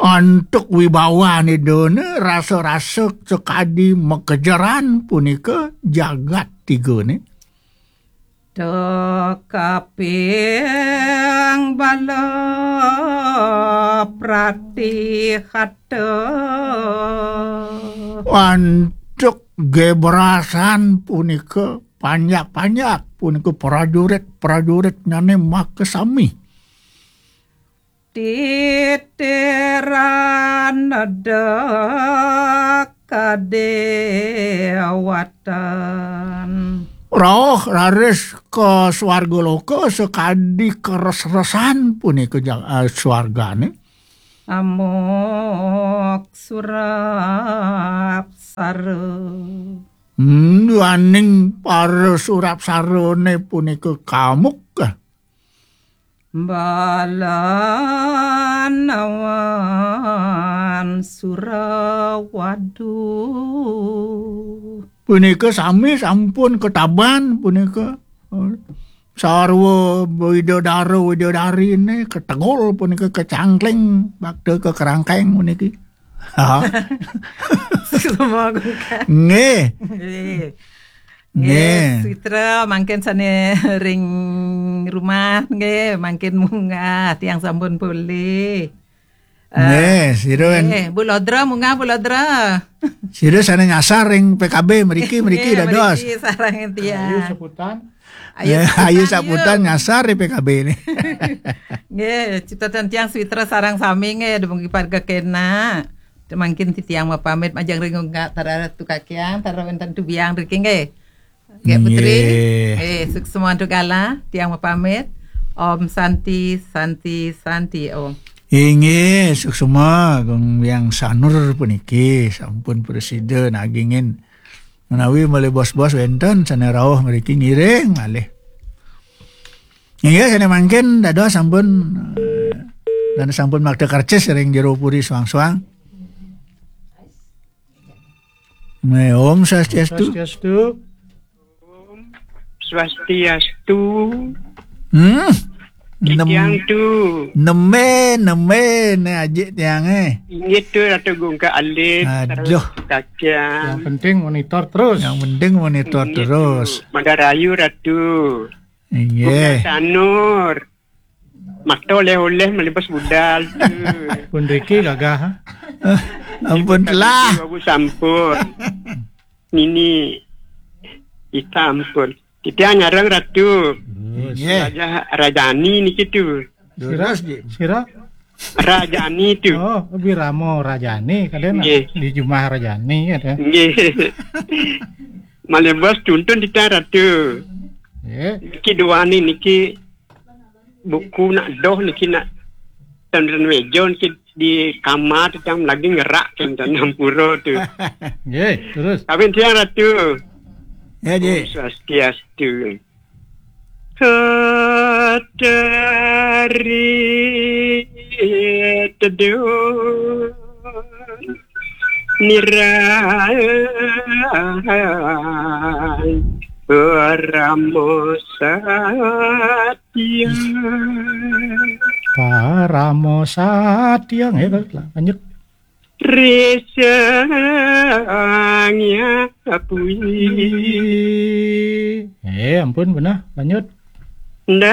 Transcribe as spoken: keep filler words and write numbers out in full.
Antuk wibawan Idane rasa-rasa sakadi makejeran punika jagat tigane. Tekaping bala pratihata. Antuk gebrasan punika panjak-panjak punika prajurit-prajuritnyane makasami. Titiran deka dewatan. Rauh raris ka swarga loka sakadi kares-resan punika ja-, eh, swargane. Amok surap sara. Hmm, duaning para surap sarane punika kamuk. Balawan Surawadu. Punika sami sampun ketaban punika. Sarwa widadara widadarine ketegul punika kecangkling bakta kekerangkeng puniki. Ha? Semua gungkang. Nggih. Nggih. Nggih, nggih. Sitra mangkin sane ring rumah nggih, mangkin munggah tiang sampun polih. Eh, nggih, sira wen- nggih, Bu Lodra munggah, Bu Lodra. Sira sane nyasar ring P K B mriki, mriki nggih, dados. Mriki sareng tiang. Ayu sebutan. Ayu ya, sebutan, ayu sebutan nyasar ring P K B ni. Nggih, cipta tiang Sitra sareng sami nggih, dumugi parga kena. Mangkin titiang mapamit majeng ring unggah tara tu kakiang, tara wenten tu biang riki nggih. Nggih, Putri. Nggih. Eh, suksma antuk gala, tiang mapamit. Om Santi, Santi, Santi, Om. Inggih, suksma, Gung Biang Sanur puniki, sampun prasida nagingin. Menawi malih bos-bos wenten, sane rauh mriki ngiring malih. Inggih, sane mangkin, dados sampun, eh, dan sampun makta karcis ring jero puri suang-suang. Nggih, Om Swastiastu. Swastiastu. Swastiastu. Hmm. Nem-, tiang tu. Neme, neme, ne ajik tiang, eh. Inggih tu Ratu Gungka Alit. Aduh. Kaca. Yang penting monitor terus. Yang penting monitor inggih terus. Tu. Madarayu Ratu. Inggih. Gungka Sanur. Mata oleh-oleh malih bos budal tu. Pun riki gagah, ha? Ampun telah. Bagus sampun. Nini. Kita ampun. Kita nyarang Ratu. Terus. Nggih. Raja Rajani niki tu. Sira, terus, Ji. Sira? Rajani tu. Oh, Wirama Rajani, kadang nggih. Di Jumah Rajani, kadang. Nggih. Malih bos tuntun kita Ratu. Nggih. Niki dua ni niki buku nak doh niki nak tan-tan meja niki di kamar tu tang lagi ngerak kan tan ampura tu. Nggih, terus. Kawin tiang Ratu. Ya, Ji. Om Swastiastu. Katari teduh nirai Paramo Satya. Paramo Satya, nggih, lanjut. Risangya Pui. Eh, ampun, benah, lanjut. Nda